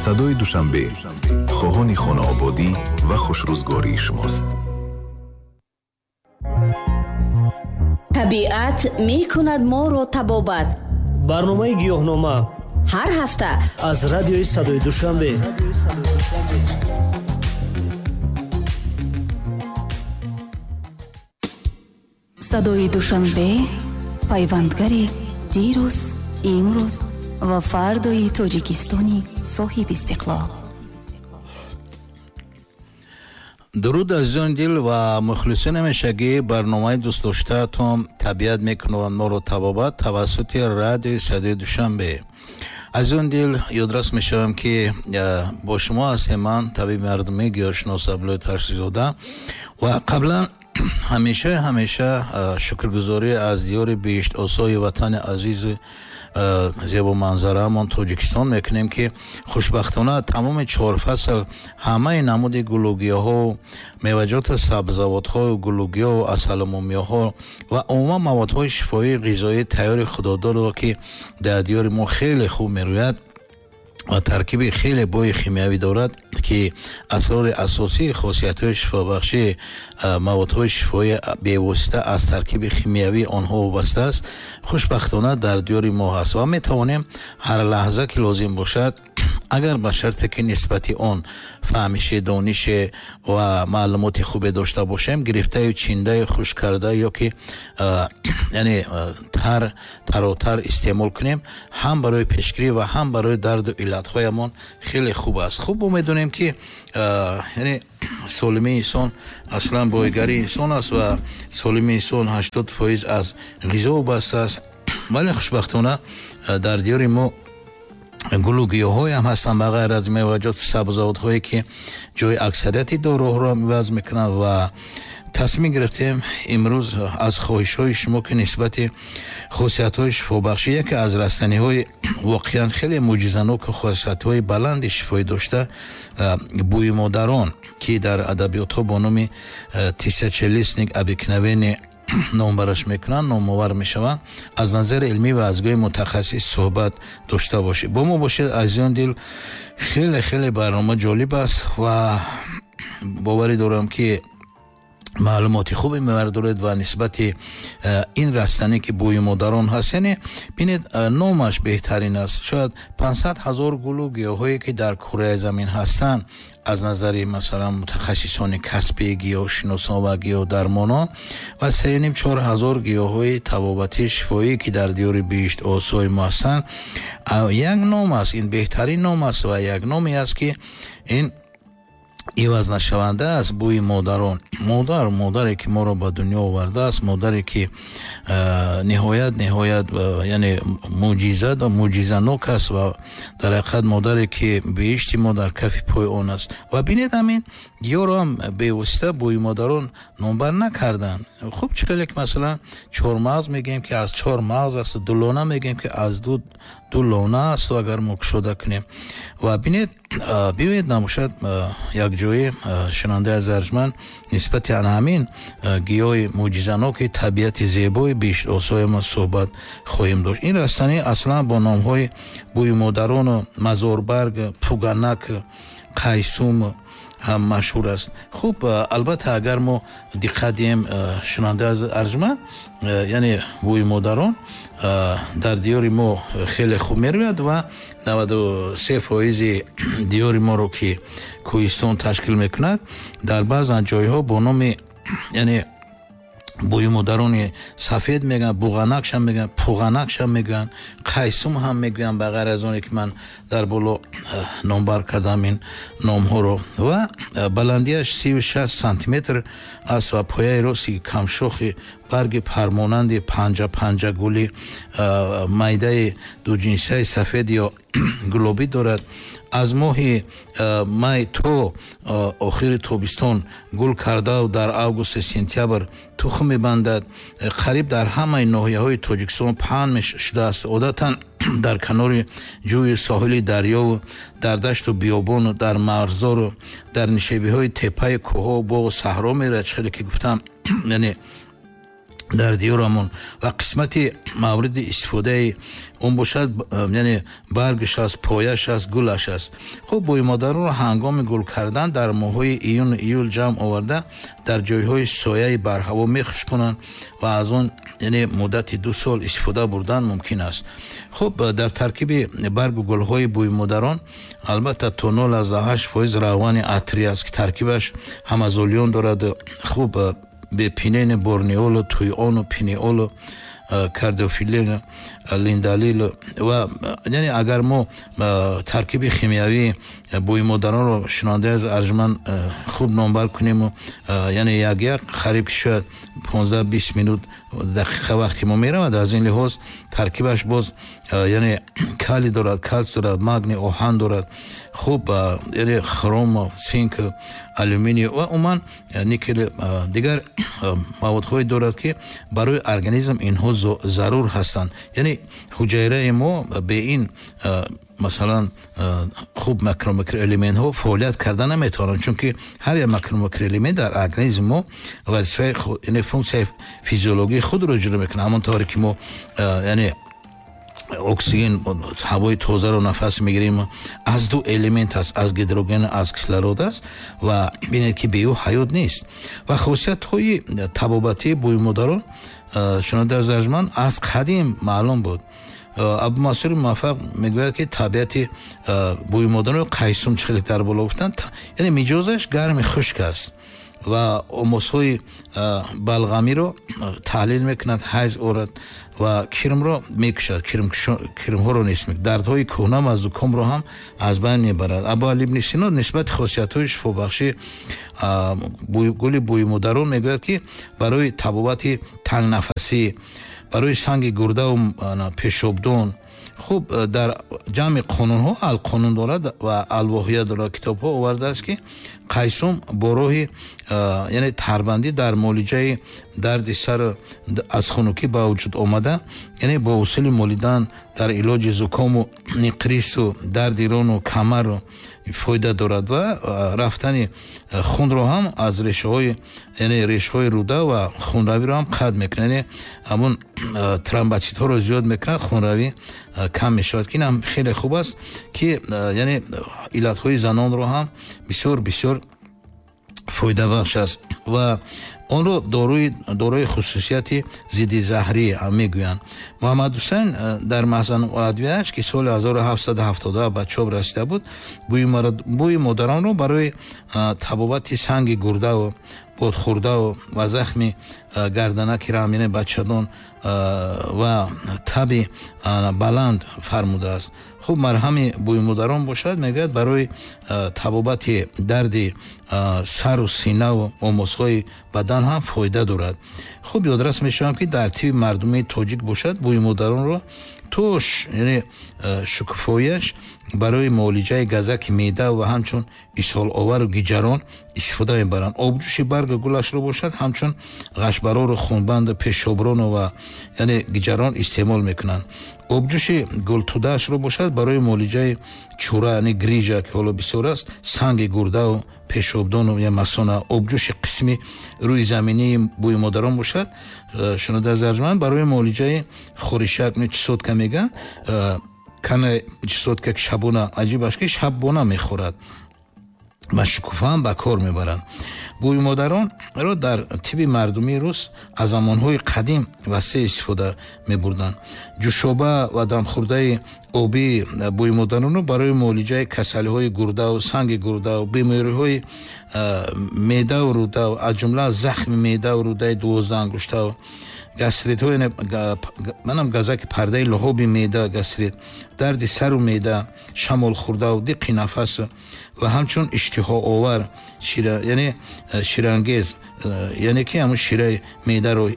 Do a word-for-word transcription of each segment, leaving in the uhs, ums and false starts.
Садои Душанбе хоҳони хонаободӣ ва хушрӯзгории шумост. Табиат мекунад моро табобат. Барномаи гиёҳнома ҳар ҳафта аз радиои Садои Душанбе. Садои Душанбе пайвандгари дирӯз, имрӯз ва фардои Тоҷикистони соҳиби истиқлол. Дуруд, азизони дил ва мухлисони ҳамешагӣ барномаи дӯстдоштаатон «Табиат мекунад моро табобат» тавассути радиои Садои Душанбе. Азизони дил, ёдрас мешавам, ки бо шумо ҳастем ман, табиби мардумӣ, гиёҳшинос Абдуллои Тарсизода, ва қаблан ҳамеша ҳамеша шукргузорӣ аз диёри биҳиштосои ватани азизи зебоманзараамон Тоҷикистон мекунем, ки хушбахтона тамоми чор фасл ҳамаи намуди гулугиёҳо, меваҷоти сабзавотҳо, гулугиёҳ, асалумумиёҳо ва умуман маводҳои шифоии ғизоии тайёри худодорро, ки дар диёри мо хеле хуб мерӯяд ва таркиби хеле бои химиявӣ дорад, ки асрори асосии хосиятҳои шифобахши маводҳои шифоӣ бевосита аз таркиби химиявии онҳо вобаста аст, хушбахтона дар диёри мо ҳаст ва метавонем ҳар лаҳза ки лозим бошад, агар ба шарте ки нисбати он фаҳмише, донише ва маълумоти хубе дошта бошем, гирифтаю чиндаю хушк карда ё ки яъне тар таротар истеъмол кунем, ҳам барои пешгирӣ ва ҳам барои дарду иллатҳоямон хеле хуб аст. Хуб, мо медонем, ки яъне солимии инсон аслан бойгарии инсон аст ва солимии инсон ҳаштод фоиз аз ғизо вобаста аст. Вале хушбахтона дар диёри мо гулу гиёҳҳоям ҳастанд, ба ғайр аз меваҷоту сабзавотҳое, ки ҷои аксарияти доруҳоро иваз мекунанд, ва тасмим гирифтем имрӯз аз хоҳишҳои шумо, ки нисбати хосиятҳои шифобахшӣ яке аз растаниҳои воқеан хеле мӯъҷизаноку хосиятҳои баланди шифоӣ дошта, бӯи модарон, ки дар адабиётҳо бо номи тысячелистник обыкновенный номбараш мекунанд, номовар мешаванд, аз назари илмӣ ва аз гӯи мутахассис суҳбат дошта бошед. Бо мо бошед, азизон дил. Хеле хеле барнома ҷолиб аст ва боварӣ дорам, ки маълумоти хубе мебардоред ва нисбати ин растанӣ, ки бӯи модарон ҳаст, яъне бинед, номаш беҳтарин аст. Шояд панҷсад ҳазор гулу гиёҳое, ки дар кураи замин ҳастанд, аз назари масалан мутахассисони касби гиёҳшиносон ва гиёҳдармонон, ва сеюним чор ҳазор гиёҳҳои табобатии шифоӣ, ки дар диёри биҳишт осои мо ҳастанд, як ном аст, ин беҳтарин ном аст ва як номе аст, ки ин иваз нашаванда аст: бӯи модарон. Модар, модаре ки моро ба дунё овардааст, модаре ки ниҳоят ниҳоят яъне мӯъҷиза мӯъҷизанок аст ва дар ҳақиқат модаре ки биҳишти мо дар кафи пои он аст. Ва бинед, ҳамин гиёҳро ҳам бевосита бӯи модарон номбар накарданд. Хуб, чӣ хеле ки масалан чормағз мегӯем, ки аз чор мағз аст, дулона мегӯем, ки аз ду ду лона аст, агар мо кушода кунем. Ва бинед, биёед намошад якҷои шунандаи аз арҷманд нисбати ана ҳамин гиёҳи мӯъҷизаноки табиати зебои биҳиштосои мо суҳбат хоҳем дошт. Ин растанӣ аслан бо номҳои бӯи модарону мазорбарг, пуганак, қайсум ҳам машҳур аст. Хуб, албатта, агар мо диққат диҳем, шунандаи аз арҷманд, яъне бӯи модарон дар диёри мо хеле хуб мерӯяд ва наваду се фоизи диёри моро, ки кӯҳистон ташкил мекунад, дар баъзан ҷойҳо бо номи яъне бӯи модарони сафед мегӯянд, буғанакшам мегӯянд, пуғанакшам мегӯянд, қайсум ҳам мегӯянд, ба ғайр аз оне ки ман дар боло номбар кардам ин номҳоро. Ва баландиаш сию шаст сантиметр аст ва пояи рости камшохи барги пармонанди панҷа панҷа гули майдаи дуҷинсаи сафед ё гулобӣ дорад. Аз моҳи май то охири тобистон гул кардау дар августу сентябр тухм мебандад. Қариб дар ҳамаи ноҳияҳои Тоҷикистон паҳн шудааст. Одатан дар канори ҷӯи соҳили дарёву дар дашту биёбону дар марғзору дар нишебиҳои теппаи кӯҳҳо, боғу саҳро меравад. Чӣ хеле ки гуфтам, яъне Дар диёрамон ва қисмати мавриди истифодаи он бошад, яъне баргаш аст, пояш аст, гулаш аст. Хуб, бӯймодаронро ҳангоми гул кардан дар моҳҳои июну июл ҷамъ оварда, дар ҷойҳои сояи барҳаво мехушконанд ва аз он, яъне, муддати ду сол истифода бурдан мумкин аст. Хуб, дар таркиби баргу гулҳои бӯймодарон албатта то нол аз ҳашт фоиз равғани атри аст, ки таркибаш ҳамазолион дорад. Хуб, бепинен, борнеолу, туйону, пинеолу, кардиофилин, линдалил ва, яъне, агар мо таркиби химиявии бӯймодаронро, шунавандаи аз арҷманд, хуб номбар кунему, яъне, як як қариб ки шояд понздаҳ бист минут дақиқа вақти мо меравад. Аз ин лиҳоз таркибаш боз, яъне, калий дорад, калсий дорад, магний, оҳан дорад, хуб, яъне, хром, цинк, алюминий ва умуман никел, дигар маводҳое дорад, ки барои организм инҳо зарур ҳастанд. Яъне, ҳуҷайраи мо бе ин, масалан, хуб, макромикроэлементҳо фаъолият карда наметавонанд, чунки ҳар як макромикроэлемент дар организми мо вазифаи, яъне, функсияи физиологии худро иҷро мекунад. Ҳамон тавре ки мо, яъне, оксиген, ҳавои тозаро нафас мегирем, аз ду элемент аст, аз гидроген, аз кислород аст, ва бинед, ки бе ӯ ҳаёт нест. Ва хосиятҳои табобатии бӯймодарон, шунавандаи аз арҷманд, аз қадим маълум буд. Абумансури Муваффақ мегӯяд, ки табиати бӯймодарон қайсум, чӣ хеле дар боло гуфтанд, яъне, миҷозаш гарми хушк аст ва омосҳои балғамиро таҳлил мекунад, ҳайз орад ва кирмро мекушад, кирмҳоро нест мекунад, дардҳои кӯҳна ва зукомро ҳам аз байн мебарад. Абуали ибни Сино нисбати хосиятҳои шифобахши гули бӯймодарон мегӯяд, ки барои табобати тангнафасӣ, барои санги гурдаву пешобдон. Хуб, дар ҷамъи қонунҳо, Алқонун дорад ва Алвоҳия дорад, китобҳо овардааст, ки қайсум бо роҳи, яъне, тарбандӣ дар муолиҷаи дарди сар аз хунукӣ ба вуҷуд омада, яъне, бо усули молидан дар илоҷи зукому ниқрису дарди рону камару фоида дорад ва рафтани хунро ҳам аз решаҳои, яъне, решаҳои руда ва хунравиро ҳам қатъ мекунад, яъне, ҳамон тромбоцитҳоро зиёд мекунад, хунравӣ кам мешавад, ки ин ҳам хеле хуб аст, ки, яъне, иллатҳои занонро ҳам бисёр бисёр фоидабахш аст ва онро дорои дорои хусусияти зидди заҳрӣ мегӯянд. Муҳаммадҳусайн дар Маҳзануладвияаш, ки соли ҳазору ҳафтсаду ҳафтоду ба чоп расида буд, бӯи модаронро барои табобати санги гурдаву бодхӯрдаву ва захми гарданаки рамини бачадон ва таби баланд фармудааст. Хуб, марҳами бӯймодарон бошад, мегӯяд, барои табобати дарди сару синаву омозҳои бадан ҳам фоида дорад. Хуб, ёдрас мешавам, ки дар тиби мардумии тоҷик бошад, бӯймодаронро то, яъне, шукуфоияш барои муолиҷаи газаки меъда ва ҳамчун исҳоловару гиҷарон истифода мебаранд. Обҷӯши баргу гулашро бошад, ҳамчун ғашбарору хунбанду пешоброну ва, яъне, гиҷарон истеъмол мекунанд. Обҷӯши гултудаашро бошад, барои муолиҷаи чура, яъне, грижа, ки ҳоло бисёр аст, санги гурдаву пешобдону я масона. Обҷӯши қисми рӯи заминии бӯймодарон бошад, шунавандаи арҷманд, барои муолиҷаи хоришак, чесотка мегӯянд, кана чесотка, ки шабона, аҷибаш, ки шабона мехӯрад ва шукуфаам ба кор мебаранд. Бӯймодаронро дар тиби мардумии рус аз замонҳои қадим васеъ истифода мебурданд. Ҷӯшоба ва дамхӯрдаи обии бӯймодаронро барои муолиҷаи касалиҳои гурдаву санги гурдаву бемориҳои меъдаву рудаву, аз ҷумла захми меъдаву рудаи дувоздаҳангуштаву гастритҳо, манам газаки пардаи луҳоби меъда, гастрит, дарди сару меъда, шамолхӯрдаву диққи нафас ва ҳамчун иштиҳоовар, шира, яъне, ширангез, яъне, ки ҳамун шираи меъдаро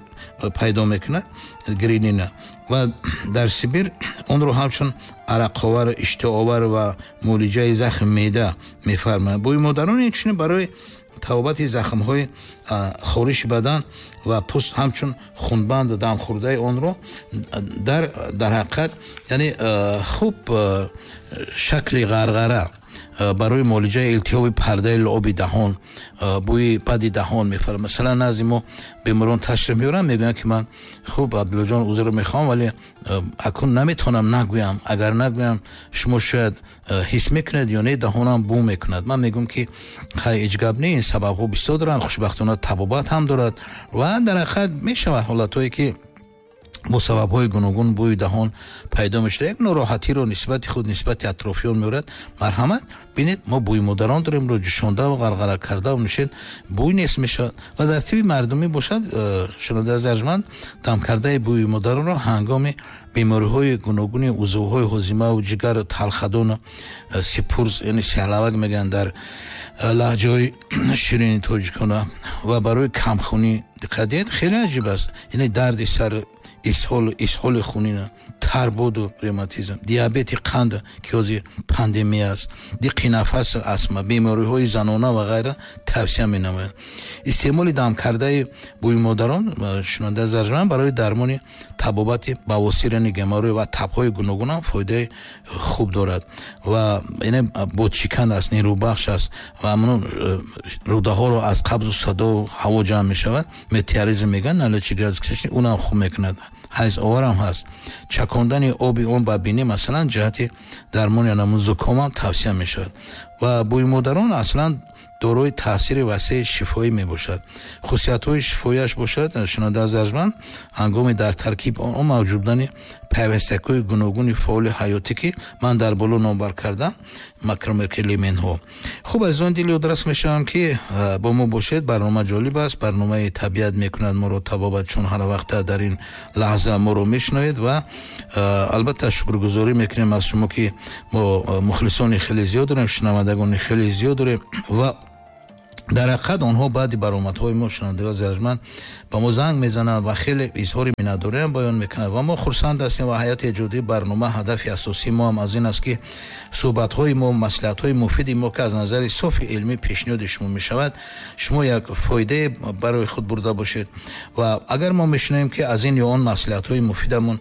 пайдо мекунад, грелина, ва дар Сибир онро ҳамчун арақовар, иштиҳоовар ва муолиҷаи захми меъда мефармоянд. Бӯймодарон инчунин барои табобати захмҳои хориши бадан ва пӯст, ҳамчун хунбанду дамхӯрдаи онро дар дар ҳақиқат, яъне, хуб, шакли ғарғара. Барои муолиҷаи илтиҳоби пардаи лаъоби даҳон, бӯи бади даҳон мефарад. Масалан, назди мо беморон ташриф меоранд, мегӯянд ки ман хуб, Абдуллоҷон, узр мехоҳам, вале акнун наметавонам нагӯям. Агар нагӯям, шумо шояд ҳис мекунед ё не, даҳонам бӯ мекунад. Ман мегӯям ки хай, ҳеҷ гап не, ин сабабҳо бисёр доранд, хушбахтона табобат ҳам дорад ва дар ҳақиқат мешавад ҳолатҳое ки бо сабабҳои гуногун бӯи даҳон пайдо мешавад, як нороҳатиро нисбати худ, нисбати атрофиён меорад. Марҳамат, бинед, мо бӯи модарон дорем, ро ҷӯшонда ва ғарғара карда нӯшед, бӯй нест мешавад. Ва дар тиби мардумӣ бошад, шунавандаи арҷманд, дам кардаи бӯи модаронро ҳангоми бемориҳои гуногуни узвҳои ҳозима ва ҷигар, талхадон, сипурз, яъне сиҳлавак мегӯянд дар лаҳҷаҳои ширини тоҷикона, ва барои камхунӣ диққат диҳед, хеле аҷиб аст, яъне дарди сар, исҳол, исҳоли хунина, тарбуду ревматизм, диабети қанд ки ҳозир пандемия аст, диққи нафас, астма, бемориҳои занона ва ғайра тавсия менамояд. Истеъмоли дамкардаи бӯи модарон, шунавандаи арҷманд, барои дармони табобати бавосир, яъне геморрой ва табҳои гуногун ҳам фоидаи хуб дорад ва яъне бодшикан аст, нерӯбахш аст ва ҳамон рӯдаҳоро аз қабзу садо ҳаво ҷамъ мешавад, метеоризм мегӯянд, налачи газ кашни, унам хуб мекунад. Ҳайзовар ҳам ҳаст. Чакондани оби он ба бинӣ, масалан, ҷиҳати дармони анамун зуком ҳам тавсия мешавад. Ва бӯи модарон аслан дорои таъсири васеи шифоӣ мебошад. Хусусиятҳои шифоияш бошад, шунавандаи арҷманд, ҳангоми дар таркиб он мавҷуд будани пайвастакҳои гуногуни фаъоли ҳаётӣ ки ман дар боло номбар кардам, макромикроэлементҳо. Хуб, азизон, дил ёдрас мешавам ки бо мо бошед. Барнома ҷолиб аст, барномаи табиат мекунад моро табобат, чун ҳар вақт дар ин лаҳза моро мешунавед ва албатта шукргузорӣ мекунем аз шумо ки мо мухлисони хеле зиёд дорем, шунавандагони хеле зиёд дорем ва дар ҳақиқат онҳо баъди баромадҳои мо, шунавандагони арҷманд, ба мо занг мезананд ва хеле изҳори миннатдориам баён мекунанд ва мо хурсанд ҳастем. Ва ҳайати эҷодии барнома ҳадафи асосии мо ҳам аз ин аст ки суҳбатҳои мо, маслиҳатҳои муфиди мо ки аз назари софи илмӣ пешниҳоди шумо мешавад, шумо як фоидае барои худ бурда бошед. Ва агар мо мешунавем ки аз ин ё он маслиҳатҳои муфидамон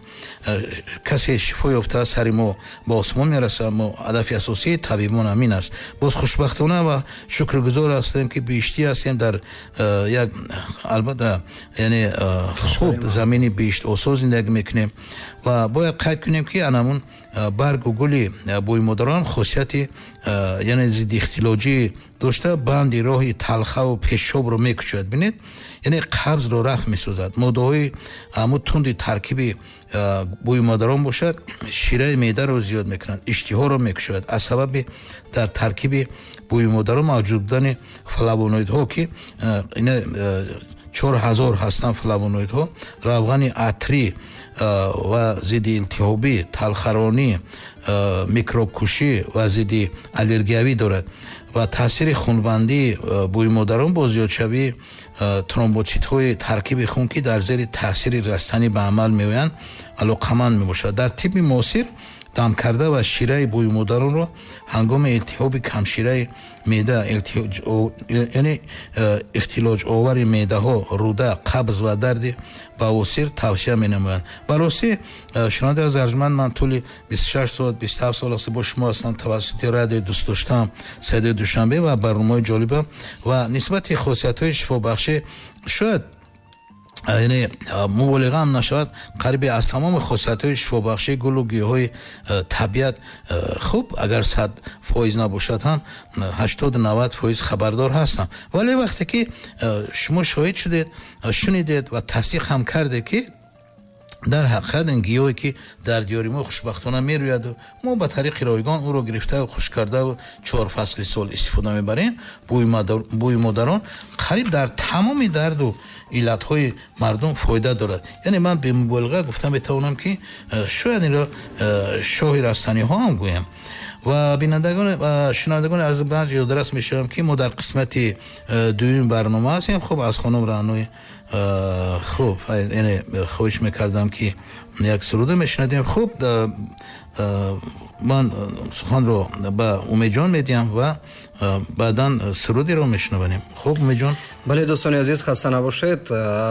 касе шифо ёфта, сари мо ба осмон мерасад. Мо ҳадафи асосии табибон ҳамин аст. Боз хушбахтона ва шукргузор ҳастем ки биҳиштӣ ҳастем дар як, албатта, яъне хуб замини биҳиштосо зиндагӣ мекунем ва бояд қайд кунем ки анамун баргу гули бӯи модарон хосияти яъне зидди ихтилоҷӣ дошта, банди роҳи талхаву пешобро мекушояд. Бинед, яъне қабзро рафъ месозад. Моддаҳои ҳамун тунди таркиби бӯи модарон бошад, шираи меъдаро зиёд мекунад, иштиҳоро мекушояд. Аз сабаби дар таркиби бӯи модарон мавҷуд будани флавоноидҳо ки ина чор ҳазор ҳастанд флавоноидҳо, равғани атрӣ ва зидди илтиҳобӣ, талхаронӣ, микробкушӣ ва зидди аллергиявӣ дорад ва таъсири хунбандии бӯи модарон бо зиёдшавии тромбоцитҳои таркиби хун ки дар зери таъсири растанӣ ба амал меоянд алоқаманд мебошад. Дар тибби муосир дам карда ва шираи бӯи модаронро ҳангоми илтиҳоби камшираи меъда, яъне ихтилоҷовари меъдаҳо, рӯда, қабз ва дарди бавосир тавсия менамоянд. Ба ростӣ, шунавандаи арҷманд, ман тӯли бисту шаш сол, бисту ҳафт сол аст бо шумо ҳастам тавассути радиои дӯстдоштаам Садои Душанбе ва барномаҳои ҷолиба ва нисбати хосиятҳои шифобахшӣ шояд яъне муболиға ҳам нашавад, қариби аз тамоми хосиятҳои шифобахшии гулу гиёҳҳои табиат хуб, агар сад фоиз набошад ҳам ҳаштоду навад фоиз хабардор ҳастам. Вале вақте ки шумо шоҳид шудед, шунидед ва тасдиқ ҳам кардед ки дар ҳақиқат ин гиёҳе ки дар диёри мо хушбахтона мерӯяду мо ба тариқи ройгон ӯро гирифтаву хушк кардаву чор фасли сол истифода мебарем, бӯи модарон қариб дар тамоми дарду иллатҳои мардум фоида дорад. Яъне ман бемуболиға гуфта метавонам ки шояд инро шоҳи растаниҳо ҳам гӯям. Ва бинандагон ва шунавандагони азиз, ёдрас мешавам ки мо дар қисмати дуюми барнома ҳастем. Хуб, аз хонум Раънои Хуб, яъне хоҳиш мекардам, ки як суруда мешунадем. Хуб, ман суханро ба Умедҷон медиҳам ва баъдан сурудеро мешунавонем. Хуб, Умедҷон. Бале, дӯстони азиз, хаста набошед.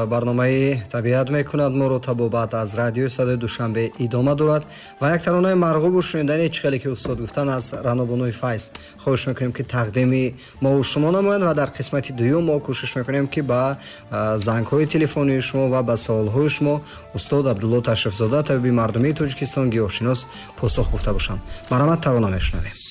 Барномаи табиат мекунад моро табобат аз радиои садои Душанбе идома дорад ва як таронаи марғубу шунидани, чӣ хеле ки устод гуфтан, аз Ранобонуи Файз хоҳиш мекунем, ки тақдими мо шумо намоянд ва дар қисмати дуюм мо кӯшиш мекунем, ки ба зангҳои телефонии шумо ва ба саволҳои шумо устод Абдулло Ташрифзода, табиби мардумии Тоҷикистон, гиёҳшинос, посух гуфта бошанд. Марҳамат, тарона мешунавем.